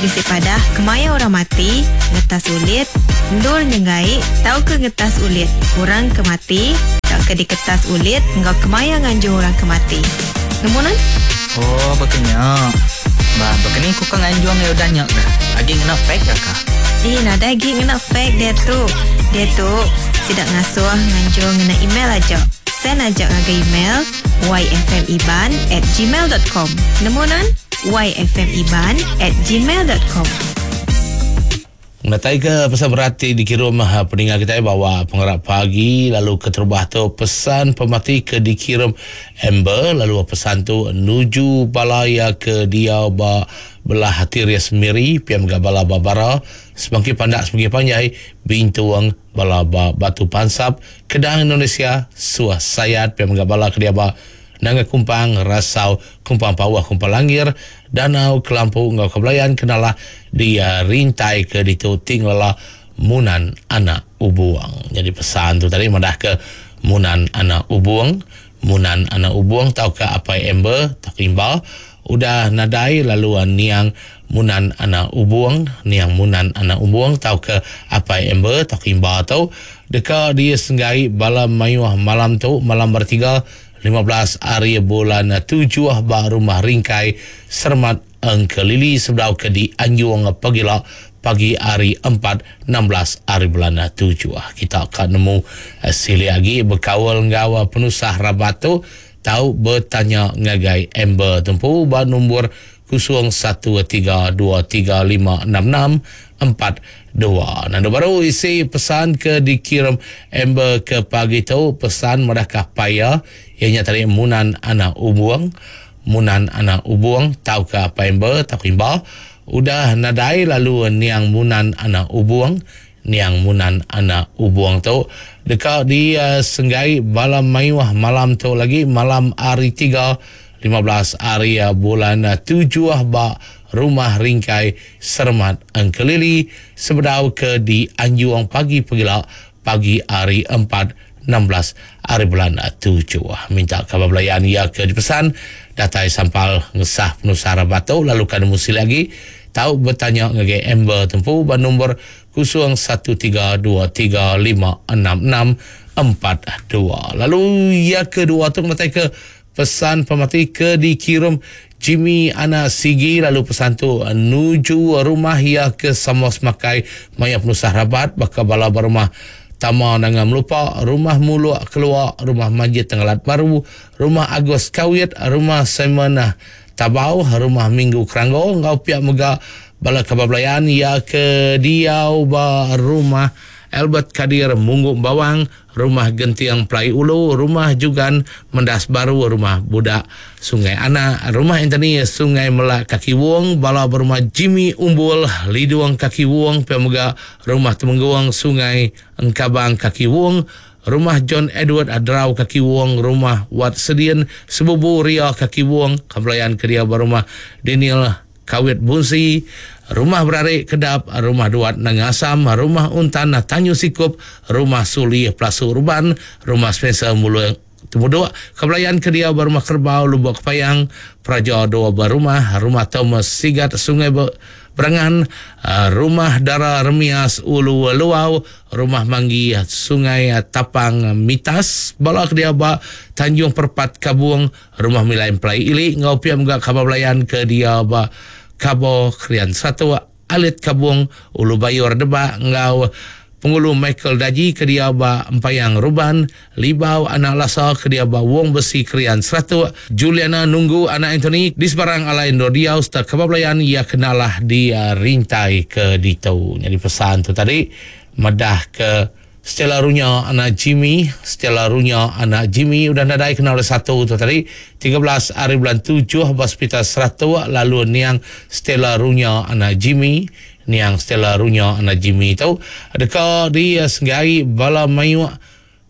Bisi padah kemaya orang mati, ngetas ulit, endur nyenggai tauka ngetas ulit orang ke mati tauka diketas ulit enggau kemaya nganjung orang ke mati. Nemu nuan? Oh baka nya. Ba baka ni ku ka nganjung iya udah nya kah? Agi ngena fax ka kah? Eh nadai agi ngena fax diatu. Diatu sida ngasuh nganjung ngena email aja. Send aja ngagai email yfmiban at gmail dot com. Nemu nuan? yfmiban at gmail dot com. Ngenatai ke pesan berat ti dikirum peninga kitai bawa pengarap pagi lalu keterubah tu pesan pemati ke dikirum Amber lalu pesan tu nuju bala iya ke diau ba belah Tiris Miri pia mega bala ba Bara semangki pandak semangki panjai Bintung Bala ba Batu Pansap, Kedang Indonesia, Suah Sayat pia mega bala ke dia ba Nanga Kumpang, Rasau, Kumpang Pauh, Kumpang Langir, Danau, Kelampu enggau Kebelayan ke nalah di rintai ke ditu ti ngelala Munan Anak Ubung. Nyadi pesan tu tadi madahka Munan Anak Ubung, Munan Anak Ubung tauka Apai Amber tauka Imba udah nadai lalu niang Munan Anak Ubung, niang Munan Anak Ubung tauka Apai Amber tauka Imba tu deka disenggai bala mayuh malam tu malam bertiga 15 ari bulan tujuh ba Rumah Ringkai Sermat Engkelili sebedau ke dianjung pagila pagi ari empat 16 ari bulan tujuh. Kita ka nemu silik agi bekaul enggau penusah rabat tu tau betanya ngagai Amber tu empu ba nombor 0132356642. Nandu baru isi pesan ke dikirim Amber ke pagi tu pesan madahka apai iya iya nya tadi Munan Anak Ubung. Munan Anak Ubung tauka apai Amber tauka Imba udah nadai lalu niang Munan Anak Ubung niang Munan Anak Ubung tu deka disenggai bala mayuh malam tu lagi malam hari tiga 15 ari bulan tujuh ba Rumah Ringkai Seremat Engkelili sebedau ke dianjung pagi pegila pagi hari empat 16 ari bulan tujuh. Minta kaban belayan iya ke dipesan datai sampal ngesah penusah rabat tu lalu ka nemu silik agi tau betanya ngagai Amber tempu ba nombor 0132356642. Lalu iya kedua tu ngenatai ke Pesan pemati ke dikirum Jimmy anak Sigi lalu pesan tu nuju rumah iya ke sama semakai maya penusah rabat baka bala ba rumah Tama Nanga Melupa, Rumah Muluk Kelua, Rumah Manjit Tengalat Baru, Rumah Agus Kawit, Rumah Simon Tabau, Rumah Minggu Keranggo enggau pia mega bala kaban belayan iya ke diau ba Rumah Albert Kadir Munggu Bawang, Rumah Genting Pelai Ulu, Rumah Jugan Mendas Baru, Rumah Budak Sungai Anak, Rumah Anthony Sungai Melak Kaki Wong, bala ba Rumah Jimmy Umbul, Lidung Kaki Wong, pia mega Rumah Temenggung Sungai Engkabang Kaki Wong, Rumah John Edward Adrau Kaki Wong, Rumah Wat Sedin Sebubu Ria Kaki Wong, Kebelayan ke dia ba Rumah Daniel Kawit Bunsi, Rumah Berarik Kedap, Rumah Duat Nanga Asam, Rumah Untan Tanyu Sikup, Rumah Suli Pelasu Ruban, Rumah Spencer Mulu Temuduk, Kebelayan ke diau ba Rumah Kerbau Lubok Kepayang, Peraja Dua ba Rumah, Rumah Thomas Sigat Sungai Berangan, Rumah Dara Remias Ulu Luau, Rumah Manggi, Sungai Tapang Mitas, bala ke diau ba Tanjung Perpat Kabung, Rumah Milai Empelai Ili enggau pia mega kaban belayan ke diau ba Kabo Krian Satok, Alit Kabong, Ulu Bayur Debak enggau Pengulu Michael Daji ke diau ba Empayang Ruban, Libau Anak Lasa ke diau ba Wong Besi Krian Seratok, Juliana Nunggu Anak Anthony di sebarang alai endur diau sereta kaban belayan iya ke nalah di rintai ke ditu. Nyadi pesan tu tadi madah ke Stella Runya anak Jimmy, Stella Runya anak Jimmy udah nadai kena oleh satu tu tadi 13 ari bulan tujuh ba Sepital Seratok lalu niang Stella Runya anak Jimmy, niang Stella Runya anak Jimmy tu deka disenggai bala mayuh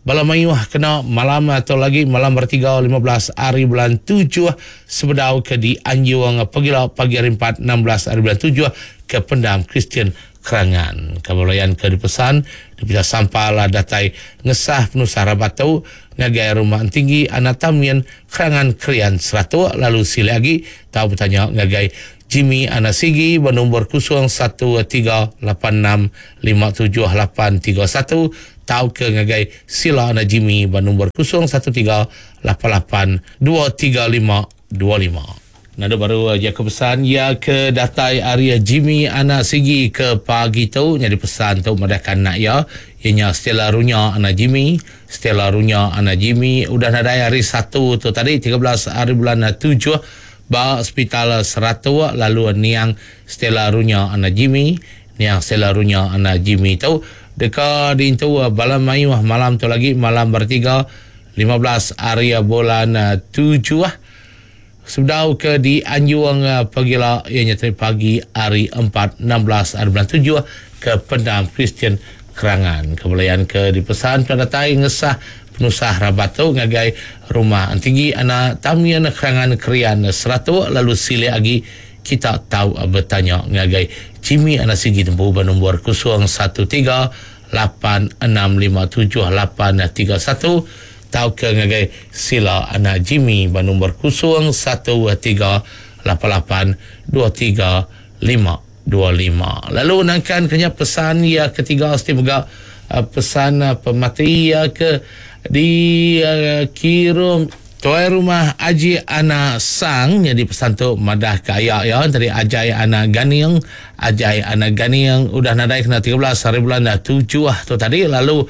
bala mayuh kena malam tu lagi malam bertiga 15 ari bulan tujuh sebedau ke dianjung pagila pagi hari empat 16 ari bulan tujuh ke Pendam Kristian Kerangan. Kebelayan ke dipesan dipeda sampal datai ngesah penusah rabat tu ngagai Rumah Entinggi Anak Tamin Kerangan Krian Seratok lalu silik agi tau betanya ngagai. Jimmy Anak Sigi ba nombor 0138657831 tauka ngagai Sila Anak Jimmy ba nombor 0138823525. Nadu baru jaku pesan iya ke datai ari Jimmy Anak Sigi ke pagi tu nyadi pesan tu madahka anak iya iya nya Stella Runya anak Jimmy. Stella Runya anak Jimmy udah nadai hari Satu tu tadi 13 hari bulan 7 ba Sepital Seratok lalu niang Stella Runya anak Jimmy. Niang Stella Runya anak Jimmy tu deka diintu bala mayuh malam tu lagi malam bertiga 15 hari bulan 7 Sebedau ke dianjung pagila iya nya tadi pagi hari 4 16 hari bulan 7 ke Pendam Kristian Kerangan. Kebelayan ke dipesan pernah datai ngesah penusah rabat tu ngagai rumah Entinggi anak Tamian Kerangan Krian Seratok lalu silik agi kita tau betanya ngagai Jimmy anak Sigi tempu ba nombor 013 8657831 tauka ngagai Sila anak Jimmy ba nombor 0138823525. Lalu nangkan ke nya pesan iya ketiga siti mega pesan pemati iya ke dikirum Tuai Rumah Aji Anak Sang nyadi pesan tu madah ke aya iya tadi Ajai Anak Ganing. Ajai Anak Ganing udah nadai kena 13 hari bulan 7 tu tadi lalu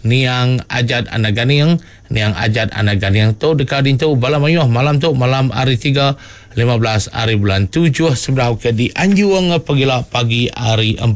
Niang Ajat Anak Ganing. Niang Ajat Anak Ganing tu deka dintu bala mayuh malam tu malam hari 3 15 hari bulan 7 sebedau ke dianjung pegila pagi hari 4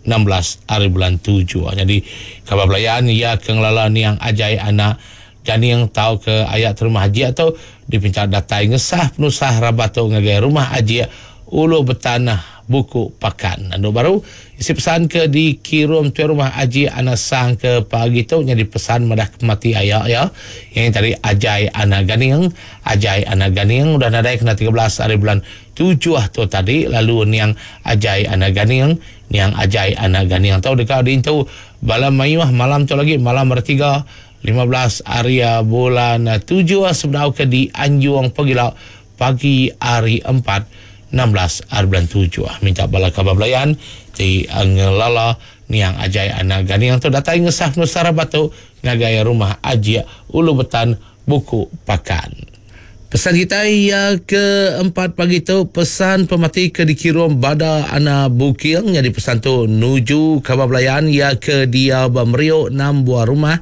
16 hari bulan 7. Nyadi kaban belayan iya ke ngelala Niang Ajai Anak Janing tau ke aya terumah Ajik tu dipinta datai ngesah penusah rabat tu ngagai rumah Ajik Ulu Betan Buku Pakan. Anu baru isi pesan ke dikirum tuai rumah Ajik Anak Sang ke pagi tu nyadi pesan madah ke pemati aya iya yang tadi Ajai Anak Ganing. Ajai Anak Ganing udah nadai kena 13 hari bulan 7 tu tadi lalu niang Ajai Anak Ganing niang Ajai Anak Ganing tu deka diintu bala mayuh malam tu lagi malam hari 3 15 hari bulan 7 sebedau ke dianjung pegila pagi hari 4 16 hari bulan 7. Minta bala kaban belayan ti ngelala niang Ajai Anak Ganing tu datai ngesah penusah rabat tu ngagai rumah Ajik Ulu Betan Buku Pakan. Pesan kita iya ke empat pagi tu pesan pemati ke dikirum Bada Ana Buking nyadi pesan tu nuju kaban belayan iya ke diau ba Meriok enam buah rumah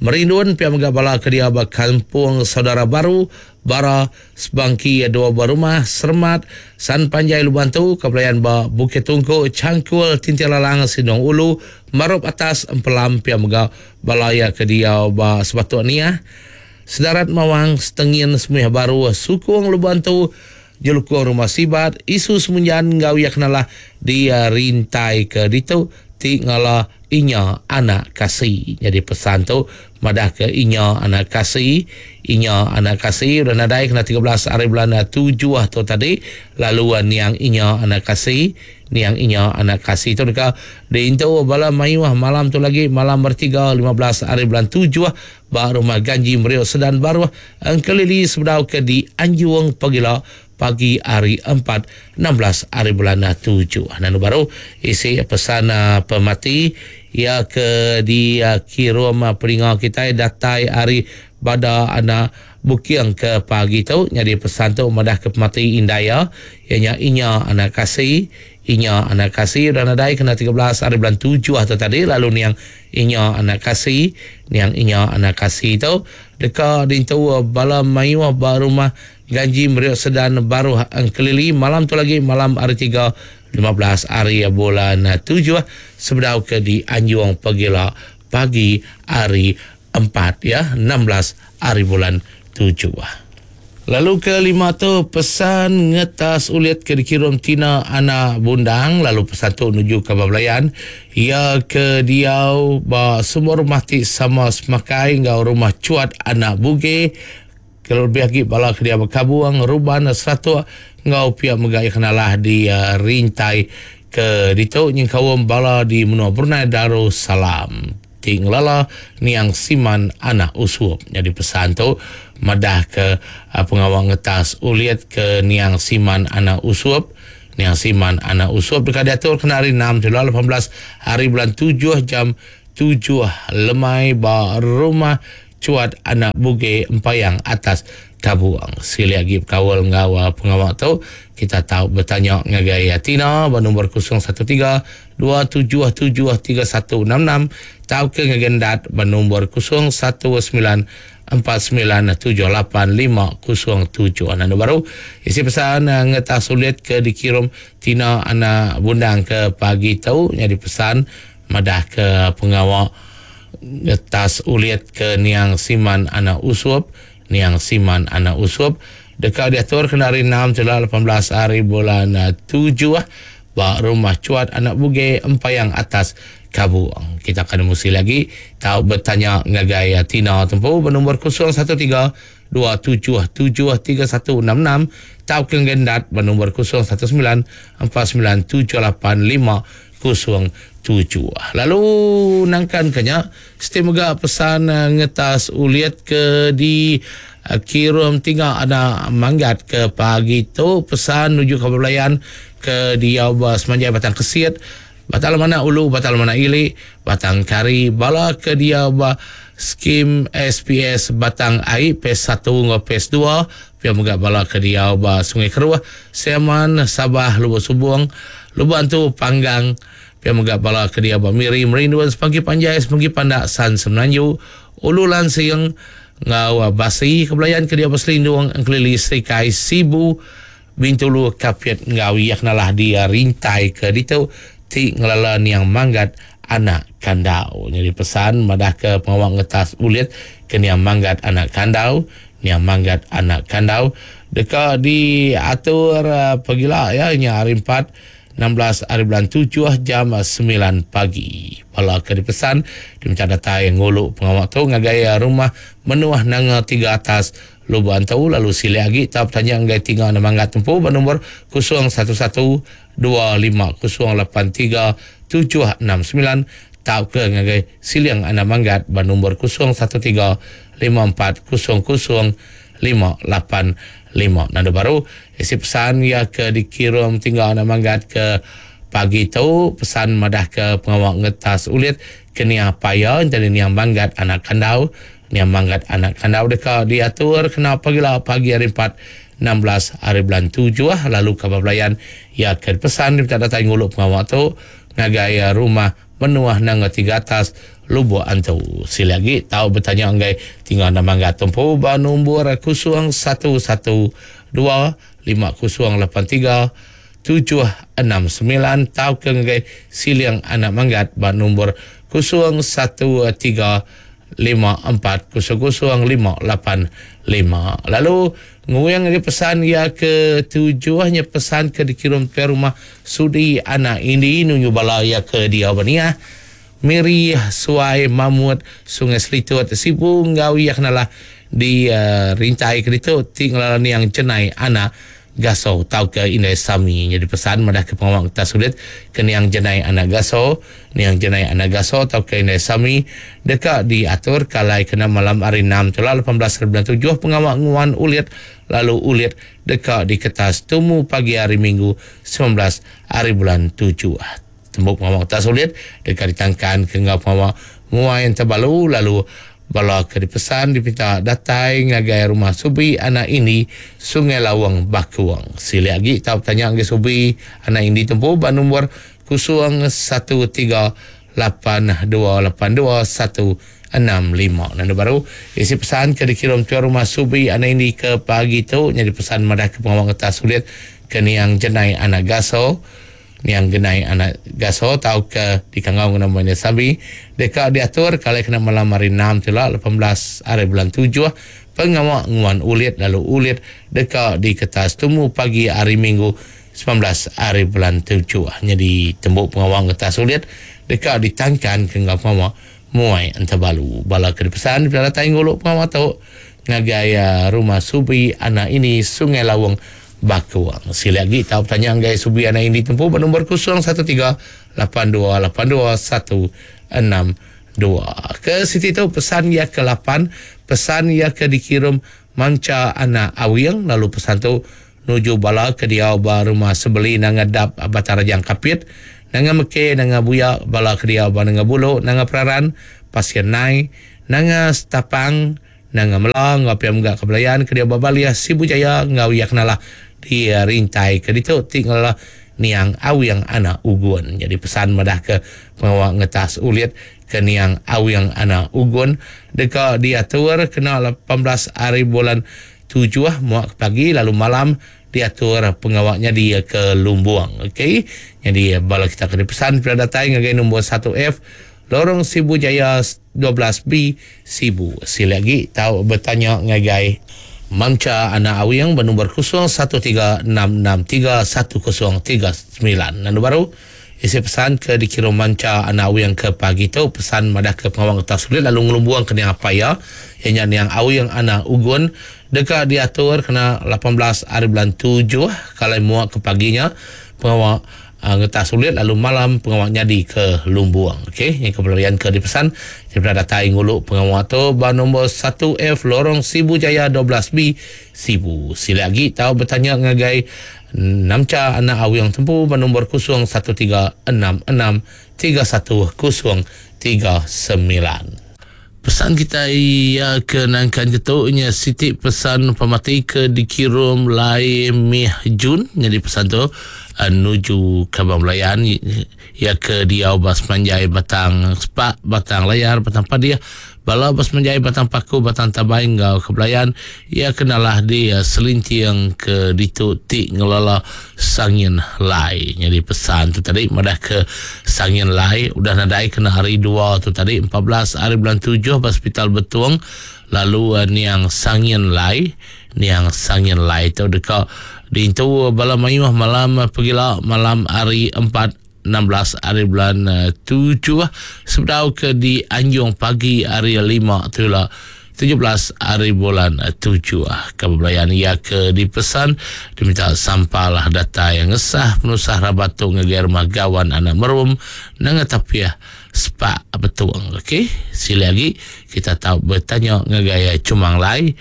Merindun pia mega bala ke diau ba Kampung Saudara Baru Bara Sebangki dua buah rumah Sermat San Panjai Luban tu ke belayan ba Bukit Tungku Changkul Tinting Lalang Sindung Ulu Marup Atas Empelam pia mega bala iya ke diau ba Sebatuk Niah Sedarat Mawang, Setengin Semuih Baru, Sukung Lubuk Antu, Jelukung Rumah Sibat, Isu Semunjan enggau iya kenalah di rintai ke ditu ti ngala Inya Anak Kasi. Nyadi pesan tu madah ke Inya Anak Kasi, Inya Anak Kasi udah nadai kena 13 hari bulan 7 tu tadi lalu niang Inya Anak Kasi, niang Inya Anak Kasi tu deka diintu bala mayuh malam tu lagi malam bertiga 15 hari bulan 7 Ba Rumah Ganji Meriok Sedan Baruh Engkelili sebedau ke dianjung pagila pagi hari 4 16 hari bulan 7. Nanu baru isi pesan pemati iya ke dikirum peninga kitai datai ari Bada Anak Buking ke pagi tu nyadi pesan tu madah ke pemati indai iya iya nya Inya Anak Kasi Inya Anak Kasi udah nadai kena 13 hari bulan 7 tu tadi lalu niang Inya Anak Kasi, Niang Inya Anak Kasi tu deka diintu bala mayuh ba Rumah Ganji Meriok Sedan Baruh Engkelili malam tu lagi malam hari 3 15 hari bulan 7 sebedau ke dianjung pegila pagi hari 4 ya 16 hari bulan 7. Lalu ke lima tu pesan ngetas ulit ke dikirum Tina Ana Bundang lalu pesan tu nuju ke Belayan iya ke diau ba semua rumah ti sama semakai enggau rumah Chuat Anak Buge ke lebih agi bala ke diau ba Kabung Ruban Seratok enggau pia mega iya kenalah di rintai ke ditu nyengkaum bala di menua Brunei Darussalam. Ti ngelala niang Siman anak Usup. Nyadi pesan tu madah ke pengawa ngetas ulit ke niang Siman anak Usup. Niang Siman anak Usup deka diatur kena hari enam Julai 18 hari bulan tujuh jam tujuh lemai ba Rumah Chuat Anak Bugey Empayang Atas Kabuang. Silik agi bekaul enggau pengawa tu, kita tau betanya ngagai Tina ba nombor 013 277 3166 tauka ngagai Endat ba nombor 019 4978507. Anak baru isi pesan ngetah sulit ke dikirum Tina anak Bundang ke pagi tu nyadi pesan madah ke pengawa ngetas ulit ke niang Siman anak Usup niang Siman anak Usup deka diatur kena hari 6 jela 18 hari bulan 7 ba Rumah Chuat Anak Bugey Empayang Atas Kabung. Kita akan nemu sekali lagi tau betanya ngagai Tina tempu ba nombor 013 277 3166 tauka ngagai Endat ba nombor 019 4978 507. Lalu nangkan ke nya, siti mega pesan ngetas ulit ke di kirum tinga anak manggat ke pagi tu pesan nuju ke belayan ke diau ba semanjai Batang Kesit, Batang Lemanak Ulu, Batang Lemanak Ili, Batang Kari, bala ke diau ba Skim SPS Batang Ai Phase satu enggau Phase dua, pia mega bala ke diau ba Sungai Keruh, Siaman, Sabah, Lubok Subong, Lubok Antu, Panggang, pia mega bala ke diau ba Miri, Merindun, Sepangki Panjai, Sepangki Pandak, San Semenanju, Ulu Lansing enggau Basi, ke belayan ke diau ba Selindung, Engkelili, Serikai, Sibu, Bintulu, Kapit enggau iya kenalah di rintai ke ditu ti ngelala niang Manggat anak Kandau. Nyadi pesan madahka pengawa ngetas ulit ke niang Manggat anak Kandau, niang Manggat anak Kandau deka diatur pagila iya nya hari empat 16 hari bulan tujuh jam semilan pagi. Bala ke dipesan diminta datai ngulu pengawa tu ngagai rumah Menuh Nanga Tiga Atas Lubok Antu lalu silik agi tau betanya enggai tinga nemanggat tempu ba nombor 01125083 769 tauka ngagai Siling Anak Manggat ba nombor 0135400585. Nanda baru isi pesan iya ke dikirum tinggal Anak Manggat ke pagi tu pesan madah ke pengawa ngetas ulit ke nia paya entara niang Manggat Anak Kandau Nya manggat anak kandau deka diatur kena pagila pagi hari empat 16 hari bulan tujuh lalu kaban belayan iya ke dipesan dipinta datai ngulu pengawa tu ngagai rumah Menuah Nanga Tiga Atas Lubok Antu. Silik agi tau betanya enggai tinggal enda manggat tumpu ba numbur 011 25083 769 tauka ngagai Siling Anak Manggat ba numbur 013 5400585. Lalu nguing agi pesan iya ke tujuh nya pesan ke dikirum ke rumah Sudi Anak Indi nunju bala iya ke diau ba Niah, Miri, Suai, Mamut, Sungai Selitut, Sibu enggau iya kenalah di rintai ke ditu ti ngelala niang Jenai Anak Gaso tauka Indai Sami. Nyadi pesan madahka pengawa ngetas ulit ke niang Jenai Anak Gaso, niang Jenai Anak Gaso tauka Indai Sami deka diatur ke alai kena malam hari enam tu lah 18 hari bulan tujuh pengawa nguan ulit lalu ulit deka diketas tumu pagi hari Minggu 19 hari bulan tujuh. Tembu pengawa ngetas ulit deka ditangkan ke enggau pengawa nguai entabalu lalu bala ke dipesan dipinta datai ngagai rumah Subi anak Indi Sungai Lawang Bakung. Silik agi tau betanya ngagai Subi anak Indi tempu ba nombor 013 8282 165. Nanda baru isi pesan ke dikirum tuan rumah Subi anak Indi ke pagi tu nyadi pesan madah ke pengawa ngetas ulit ke niang Jenai anak Gaso. Niang Genai anak Gaso tauka dikangau ngena Maina Sambi deka diatur kalai kena malam hari enam ti ila 18 hari bulan tujuh pengawa nguan ulit lalu ulit deka diketas tumu pagi hari Minggu 19 hari bulan tujuh. Nyadi tembu pengawa ngetas ulit deka ditangkan ke enggau pengawa muai entabalu. Bala ke dipesan dipeda datai ngulu pengawa tu ngagai rumah Subi anak ini Sungai Lawong Bakuang. Silik agi tau betanya enggai Subi anak Indi tempu ba nombor 013 8282 162. Ke siti tu pesan iya ke lapan, pesan iya ke dikirum Mancha anak Awing lalu pesan tu nuju bala ke diau ba Rumah Sebeli Nanga Dap Batang Rajang Kapit, Nanga Meke Nanga Buya bala ke diau ba Nanga Bulu Nanga Peraran Pasir Nai Nanga Setapang Nanga Mela enggau pia mega ke belayan ke diau ba Balih Sibu Jaya enggau iya kenalah di rintai ke ditu ti ngelala niang Awing Anak Ugun. Nyadi pesan madahka pengawa ngetas ulit ke niang Awing Anak Ugun deka diatur kena 18 hari bulan tujuh muak ke pagi lalu malam diatur pengawa nyadi ke lumbung. Okey. Nyadi bala kita ke dipesan pila datai ngagai nombor 1F Lorong Sibu Jaya 12B Sibu. Sila agi tau betanya ngagai Mamcha Anak Awing benombor 0136631039. Lalu baru isi pesan ke dikirum Mamcha Anak Awing ke pagi tu pesan madah ke pengawa ngetas sulit lalu ngelumbuang ke niang apai iya iya nya niang Awing Anak Ugun deka diatur kena 18 hari bulan 7 kalai muak ke pagi nya pengawa Ngetas ulit lalu malam pengawa nyadi ke lumbung. Okey, nya ke pelarian ke dipesan ti pernah datai ngulu pengawa tu ba nombor 1F Lorong Sibu Jaya 12B Sibu. Sila agi tau betanya ngagai Namcha anak Awing Tempu ba nombor 0136631039. Pesan kitai iya ke nangkan ke tu nya siti pesan pemati ke dikirum Lai Mih Jun nyadi pesan tu eh, nuju Kaban Belayan iya ke diau ba semanjai Batang Sepak, Batang Layar, Batang Padih, bala ba semanjai Batang Paku, Batang Tabai enggau ke Belayan iya ke nalah di eh, Selinting ke ditu ti ngelala Sangin Lai. Nyadi pesan tu tadi madah ke Sangin Lai udah nadai kena hari dua tu tadi 14 hari bulan 7 ba Hospital Betong lalu eh, niang Sangin Lai niang Sangin Lai tu deka diintu bala mayuh malam pegila malam hari 4 16 hari bulan 7 eh, sebedau ke dianjung pagi hari 5 tu lah 17 hari bulan 7 Kebelayan ia ke dipesan diminta sampalah datai ngesah penusah rabat tu ngagai rumah gawan anak merum nanga tapiah sepak betung. Okey, sila lagi kita tahu bertanya ngagai Cumang Lai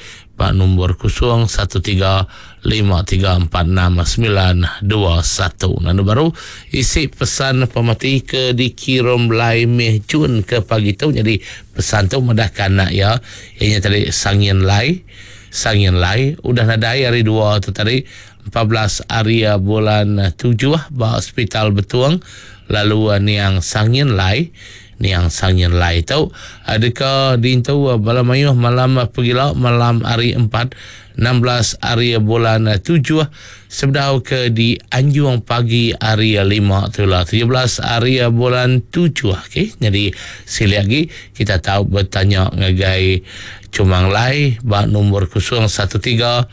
ba nombor 0135346921. Lalu baru isi pesan pemati ke dikirim Lai Meh Jun ke pagi tu. Jadi pesan tu medahkan anak ya. Ianya tadi Sangin Lai. Sangin Lai udah nadai hari dua tu tadi 14 hari bulan 7 ba Hospital Betung. Lalu niang Sangin Lai niang Sangin Lai tu deka diintu bala mayuh malam pegila malam hari 4 16 hari bulan 7 sebedau ke di Anjung pagi hari 5 tu lah 17 hari bulan 7. Okey, jadi sila lagi kita tahu bertanya ngagai Cumang Lai ba nombor 013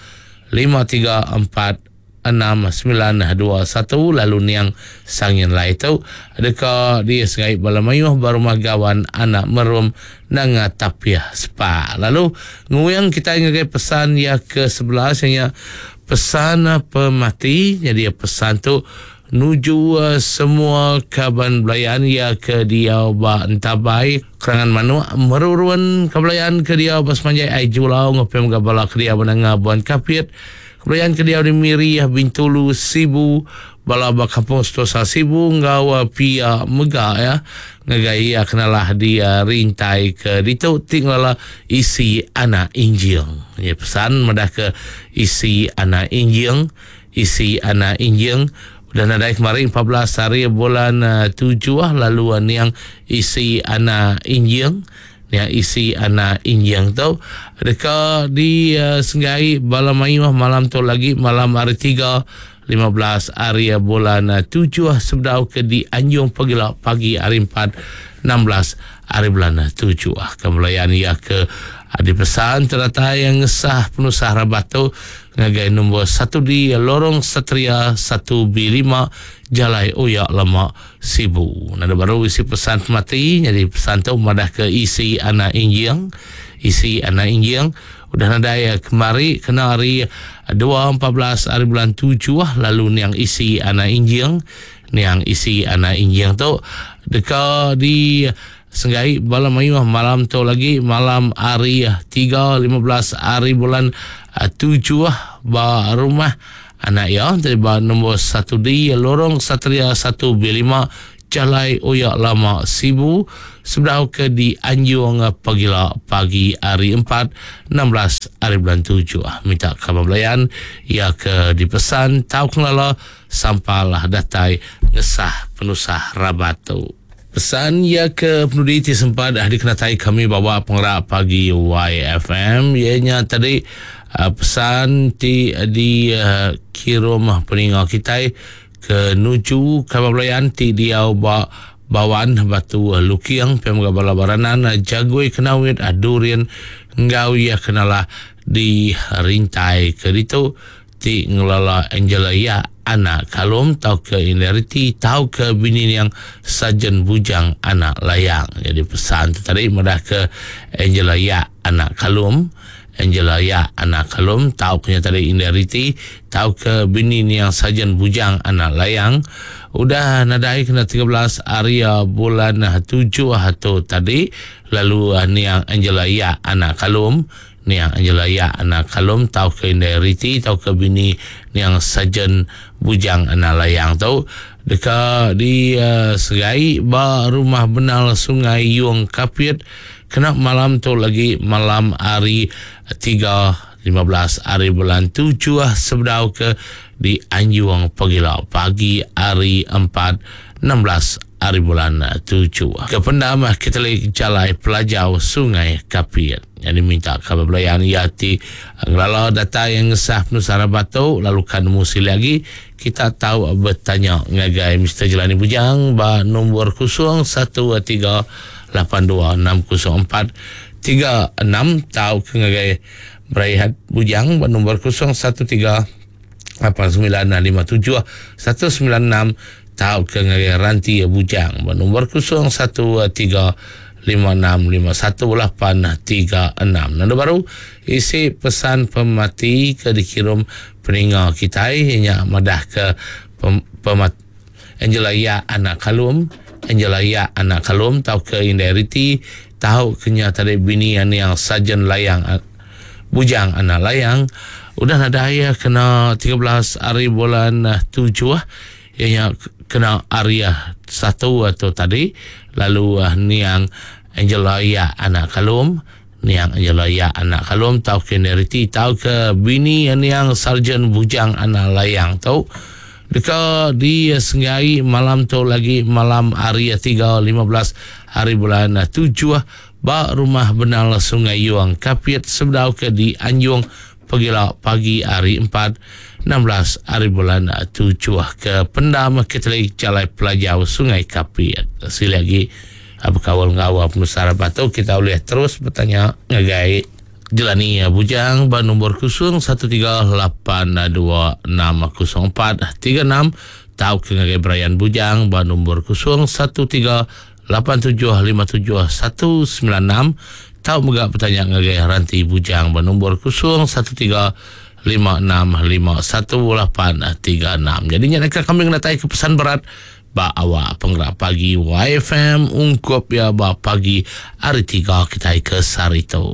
534 6921 lalu niang Sangin Lai tu deka disengai bala mayuh ba rumah gawan anak merum nanga tapiah sepa. Lalu nguyang kita ngagai pesan ya ke sebelah nya pesan pemati. Jadi pesan tu nuju semua kaban belayan ya ke diau ba entabai kerangan manuk merurun kebelayan ke diau ba semanjai ai julau ngepem ga bala ke diau menanga buan kapit kebelayan ke diau di Miri Bintulu Sibu bala ba kampung Setosa Sibu enggau pia mega ya ngagai iya kenalah di rintai ke ditu ti ngelala isi anak injing. Ya pesan madah ke isi anak injing isi anak injing udah nadai kemarin 14 hari bulan 7 lalu niang isi anak injing niang isi anak injing tu deka di senggai bala mayuh malam tu lagi malam hari 3 15 hari bulan 7 sebedau ke di Anjung pagila pagi hari 4 16 hari bulan 7. Kebelayan ia ke dipesan teratai yang ngesah penusah rabat tu ngagai nombor 1 di Lorong Satria 1B5 Jalai Oyak Lama Sibu. Nada baru isi pesan mati jadi pesan tu madah ke isi anak injing isi anak injing udah nadai kemari kena hari 2 14 hari bulan 7 lalu niang isi anak injing niang isi anak injing tu deka di senggai bala mayuh malam tu lagi malam hari 3 15 hari bulan 7 ba rumah anak iya ti ba nombor 1D Lorong Satria 1B5 Jalai Oyak Lama Sibu sebedau ke dianjung pagila pagi hari 4 16 hari bulan 7. Minta kaban belayan iya ke dipesan tau kelala sampalah datai ngesah penusah rabat tu. Pesan iya ke penudi ti sempat dikenatai kami bawa pengerak pagi YFM ianya tadi pesan ti dikirum peninga kitai ke nuju kaban belayan ti diau ba Bawan Batu Luking pia mega bala Baranan Jagoi Kenawit Durin enggau iya kenalah di rintai ke ditu ti ngelala Angela Yak anak Kalum tauka Indariti tauka bini niang Sarjan Bujang anak Layang. Jadi pesan tu tadi madah ke Angela Yak anak Kalum, Angela Yak anak Kalum tauka nya tadi Indariti tauka bini niang Sarjan Bujang anak Layang udah nadai kena 13 hari bulan 7 tu tadi lalu niang Angela Yak anak Kalum Niang Angela Yak anak Kalum tauka indai Riti tauka bini niang Sarjan Bujang anak Layang tu deka disegai ba Rumah Benal Sungai Yung Kapit kena malam tu lagi malam hari 3 15 hari bulan 7 sebedau ke dianjung pagila pagi hari 4 16 hari bulan 7. Ke pendam Katolik Jalai Pelajau Sungai Kapit. Jadi minta kabar belayan ia ti ngelala data yang ngesah penusah rabat tu lalu kan nemu sili lagi kita tahu bertanya ngagai Mr. Jelani Bujang ba nombor 013 82 604 36 tau ke ngagai Beraihat Bujang ba nombor 013 8957 196 tau ke ngagai Ranti Bujang ba nombor 013 5651836. Nanda baru isi pesan pemati ke dikirim peninga kitai nya madah ke pemat Angela Yak anak Kalum, Angela Yak anak Kalum tau ke indai Riti tau ke nya tadi bini niang Sarjan Layang Bujang anak Layang udah nadai kena 13 hari bulan 7 ianya kena hari 1 tu tadi lalu niang Angela Yak anak Kalum, niang Angela Yak anak Kalum tau ke indai Riti tau ke bini niang Sarjan Bujang anak Layang tu deka disenggai malam tu lagi malam hari 3 15 hari bulan 7 ba Rumah Benal Sungai Yung Kapit sebedau ke dianjung pagila pagi hari 4 16 hari bulan 7 ke pendam Katolik Jalai Pelajau Sungai Kapit. Sekali lagi berkawal enggau penusah rabat tu kita boleh terus bertanya ngagai Jelani Bujang ba nombor 01382 604 36 tau ke ngagai Brian Bujang ba nombor 013 8757 196 tau mega bertanya ngagai Ranti Bujang ba nombor 013 5651 836. Jadi nya dekat kami kena ke pesan berat ba awak penggerak pagi YFM ungkup ya ba pagi hari 3 kita ke sehari tu.